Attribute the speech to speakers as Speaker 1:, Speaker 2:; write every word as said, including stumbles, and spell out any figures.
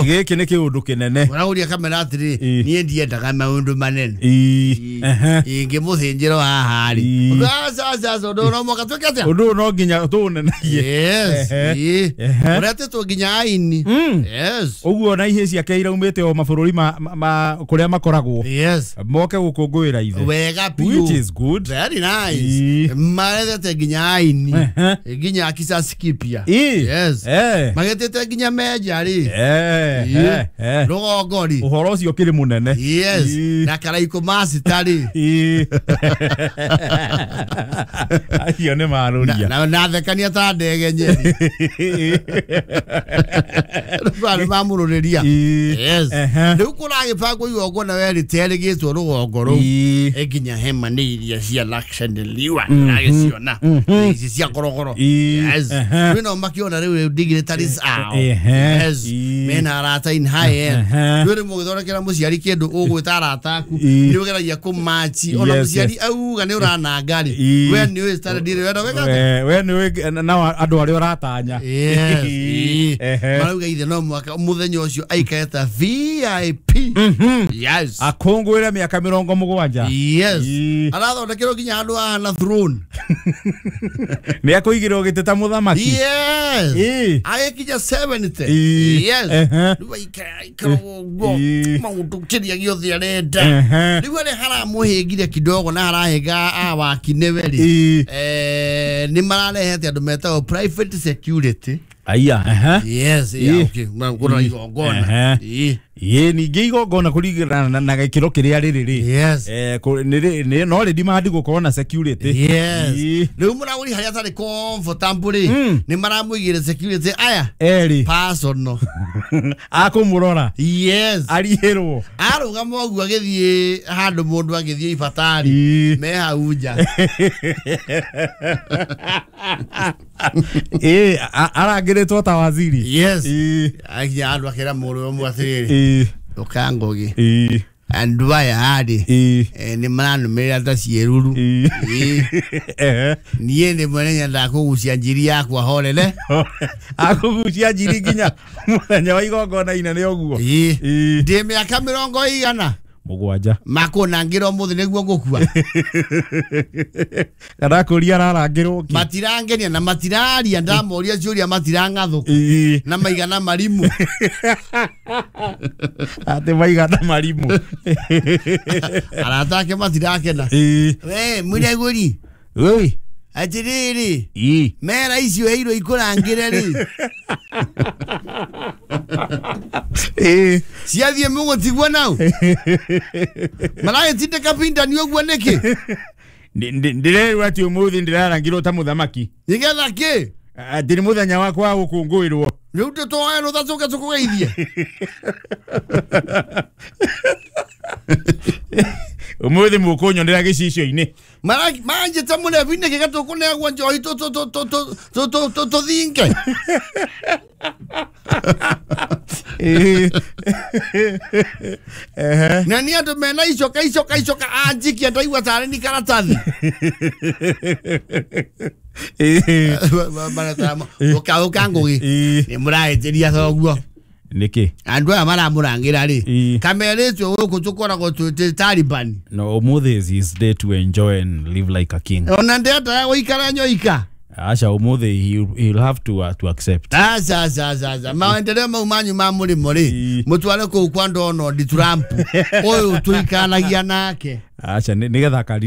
Speaker 1: Gĩkĩ nĩ kĩũndũ kĩnene.
Speaker 2: Ũragũria kamera atĩrĩ,
Speaker 1: Ĩ.
Speaker 2: niĩ ndiendaga maũndũ manene.
Speaker 1: Ĩ. Ehe.
Speaker 2: Ingĩmũthĩnjĩra haha rĩ,
Speaker 1: Ĩ.
Speaker 2: aca aca aca, ũndũ ũyũ no mũhaka twĩke atĩa?
Speaker 1: Ũndũ ũyũ no nginya tũũnenagie.
Speaker 2: Yes.
Speaker 1: Ehe.
Speaker 2: Ĩ.
Speaker 1: Ehe.
Speaker 2: Ũretĩtwo nginya aini.
Speaker 1: Mm.
Speaker 2: Yes.
Speaker 1: Ũguo na ihĩ ciake iraumĩte o mabũrũri ma, ma, ma kũrĩa makoragwo
Speaker 2: Yes.
Speaker 1: moke gũkũngũĩra ithe,
Speaker 2: Wega biũ.
Speaker 1: which is good.
Speaker 2: Very nice.
Speaker 1: Ĩ.
Speaker 2: Marethete nginya aini.
Speaker 1: Ehe.
Speaker 2: Nginya Kisasi Kipya.
Speaker 1: Ĩ.
Speaker 2: Yes.
Speaker 1: Eh.
Speaker 2: Magetĩte nginya Meja rĩ.
Speaker 1: Eh,
Speaker 2: Ĩ.
Speaker 1: eh, eh.
Speaker 2: Rũgongo rĩ.
Speaker 1: Ũhoro ũcio ũkĩrĩ mũnene.
Speaker 2: Yes.
Speaker 1: Ĩ.
Speaker 2: Na Karaikũ Master rĩ.
Speaker 1: Ĩ. Acio nĩ marũria.
Speaker 2: Na na thekania ta ndege Nyeri. Rĩu mamũrũrĩria.
Speaker 1: Ĩ.
Speaker 2: Yes.
Speaker 1: Ehe.
Speaker 2: Rĩu kũragĩbangwo igongona werĩte rĩgĩtwo rũgongo rũu.
Speaker 1: Ĩ.
Speaker 2: Nginya hema nĩ iria cia Lakshadweep ndagĩciona ici cia korokoro.
Speaker 1: Ĩ.
Speaker 2: Yes.
Speaker 1: Ehe.
Speaker 2: Rĩu no makĩona rĩu rĩu dignitaries ao.
Speaker 1: Ehe.
Speaker 2: Yes.
Speaker 1: Ĩ.
Speaker 2: Mena arata in high end.
Speaker 1: Ehe.
Speaker 2: Rĩu mũgĩthondekera mũciari kĩndũ ũgwĩta arata aku
Speaker 1: Ĩ.
Speaker 2: nĩ ũgeragia kũmachi ona
Speaker 1: Yes,
Speaker 2: mũciari
Speaker 1: yes.
Speaker 2: auga nĩ ũrananga rĩ,
Speaker 1: Ĩ.
Speaker 2: we nĩ ũĩ standard ĩrĩa wenda gwĩka atĩa?
Speaker 1: We we nĩ nao andũ arĩa ũratanya.
Speaker 2: Yes. Ĩ.
Speaker 1: Ehe.
Speaker 2: Marauga ithe no mwaka mũthenya ũcio aikare ta V I P.
Speaker 1: Mhm.
Speaker 2: Yes.
Speaker 1: Akũngũĩre mĩaka mĩrongo mũgwanja.
Speaker 2: Yes.
Speaker 1: Ĩ.
Speaker 2: Arathondekerwo nginya handũ hahana throne.
Speaker 1: Nĩ akũigĩrwo gĩtĩ ta mũthamaki.
Speaker 2: Yes.
Speaker 1: Ĩ.
Speaker 2: Agĩkinya seventy.
Speaker 1: Ĩ.
Speaker 2: Yes.
Speaker 1: Ehe.
Speaker 2: Rĩu aikara aikara ũguo
Speaker 1: Ĩ.
Speaker 2: maũndũ kĩrĩa gĩothe arenda.
Speaker 1: Ehe.
Speaker 2: Rĩu harĩa haramũhĩngire kidogo na harahĩnga awaki nĩwe rĩ,
Speaker 1: Ĩ.
Speaker 2: eh, nĩ mararehete andũ metagwo private security.
Speaker 1: Aya. Ehe.
Speaker 2: Yes.
Speaker 1: Ĩ.
Speaker 2: Yeah, okay. Kũrora igongona.
Speaker 1: Ehe.
Speaker 2: Ĩ.
Speaker 1: Ĩ, ningĩ igongona kũringana na- na gĩkĩro kĩrĩa rĩrĩ rĩ,
Speaker 2: Yes.
Speaker 1: eh, kũ- nĩ rĩ- nĩ- no rĩ demand gũkorwo na security.
Speaker 2: Yes.
Speaker 1: Ĩ.
Speaker 2: Rĩu mũragũri harĩa atarĩ comfortable rĩ,
Speaker 1: Mm.
Speaker 2: nĩ maramũigĩre security aya
Speaker 1: Erĩ
Speaker 2: personal.
Speaker 1: Akũmũrora.
Speaker 2: Yes.
Speaker 1: Arihĩrwo.
Speaker 2: Arũgama ũguo agĩthiĩ handũ mũndũ agĩthiĩ ibatari,
Speaker 1: Ĩ.
Speaker 2: me hau nja.
Speaker 1: Ĩ, a- arangĩrĩtwo ta waziri.
Speaker 2: Yes.
Speaker 1: Ĩ.
Speaker 2: Akinya handũ akĩra mũrũ ũmwe atĩrĩrĩ,
Speaker 1: Ĩ.
Speaker 2: ũka Ngũgĩ,
Speaker 1: Ĩ.
Speaker 2: andũ aya rĩ,
Speaker 1: Ĩ.
Speaker 2: eh, nĩ maranũmĩrĩra ta ciĩruru.
Speaker 1: Ĩ.
Speaker 2: Ĩ.
Speaker 1: Ehe.
Speaker 2: Niĩ rĩmwe nĩ nyendaga kũgucia njiri yakwa horere.
Speaker 1: Akũgucia njiri nginya mũthenya wa igongona inene ũguo.
Speaker 2: Ĩ.
Speaker 1: Ĩ.
Speaker 2: Ndĩ mĩaka mĩrongo igana
Speaker 1: Mũgwanja.
Speaker 2: Makũnangĩra ũmũthĩ nĩguo ngũkua.
Speaker 1: Kana kũria ararangĩrwo kĩ?
Speaker 2: Matirangenia na matiraria, ndamoria ciũria matirang'athũka.
Speaker 1: Ĩ.
Speaker 2: Na maigana marimũ.
Speaker 1: Atĩ maigana marimũ.
Speaker 2: Arata ake matirakena.
Speaker 1: Ĩ.
Speaker 2: We mũragũri,
Speaker 1: Oi.
Speaker 2: atĩrĩrĩ,
Speaker 1: Ĩ.
Speaker 2: mera icio heirwo ikũrangĩre rĩ,
Speaker 1: Ĩ.
Speaker 2: ciathiĩ mũgũtigwo nau maragĩtindĩka bindani ũguo nĩkĩ?
Speaker 1: Ndĩ- ndĩ- ndĩrerwo atĩ ũmũthĩ ndĩrarangirwo ta mũthamaki.
Speaker 2: Nĩgetha kĩ?
Speaker 1: Atĩ nĩ mũthenya wakwa wa gũkũngũĩrwo.
Speaker 2: Rĩu tũtwoe rũtha tũke tũkũgeithie.
Speaker 1: Ũmũthĩ mũkũnyonera gĩcicio-inĩ.
Speaker 2: Manjĩte mũrebi nĩkĩ gatũkũnegwo njohi tũ- tũ- tũ- tũ- tũ- tũ- tũ- tũ- tũthinge.
Speaker 1: Ĩ. Ehe.
Speaker 2: Na nĩ andũ mena icoka icoka icoka anjikia ndaigua tarĩ ni karatathi.
Speaker 1: Ĩ.
Speaker 2: Ũka Ngũgĩ,
Speaker 1: Ĩ.
Speaker 2: nĩ mũrahĩtĩria thoguo.
Speaker 1: Nĩkĩ?
Speaker 2: Andũ aya maramũrangĩra rĩ,
Speaker 1: Ĩ.
Speaker 2: kamerĩtwo gũkũ tũkoragwo twĩ Taliban.
Speaker 1: No, ũmũthĩ is his day to enjoy and live like a king.
Speaker 2: Ona ndendaga gũikara nyoika.
Speaker 1: Aca, ũmũthĩ he'll, he'll have to, uh, to accept.
Speaker 2: Aca aca aca aca, maendeleo mau manyu ma mũrĩmo rĩ,
Speaker 1: Ĩ.
Speaker 2: mũtware kũu kwa Donald Trump ũyũ tũikanagia nake.
Speaker 1: Aca, nĩ- nĩgetha akariri